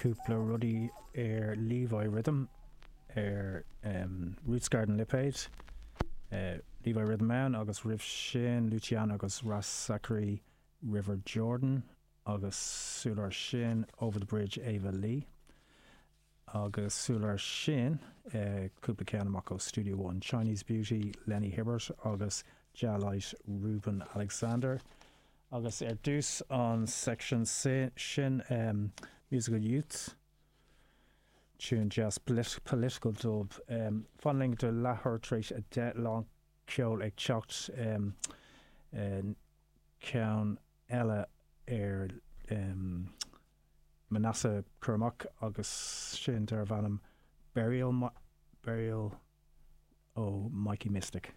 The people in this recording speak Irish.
Cúpla rudaí ar Levi Rhythm ar Roots Garden lipéad. Levi Rhythm ann agus roimh sin Luciano agus Ras Zachary River Jordan agus sular sin Over the Bridge Ava Lee. Agus sular sin, cúpla ceann amach ó Studio One, Chinese Beauty, Lenny Hibbert agus Jah Light, Reuben Alexander. Agus ar dtús an section sin, Musical Youths, tune deas political dub. Fan linn go leathuair tar éis 10, lán ceoil ag teacht, ceann eile ar Manasseh cur amach agus sin darbh ainm Burial Burial ó Mikey Mystic.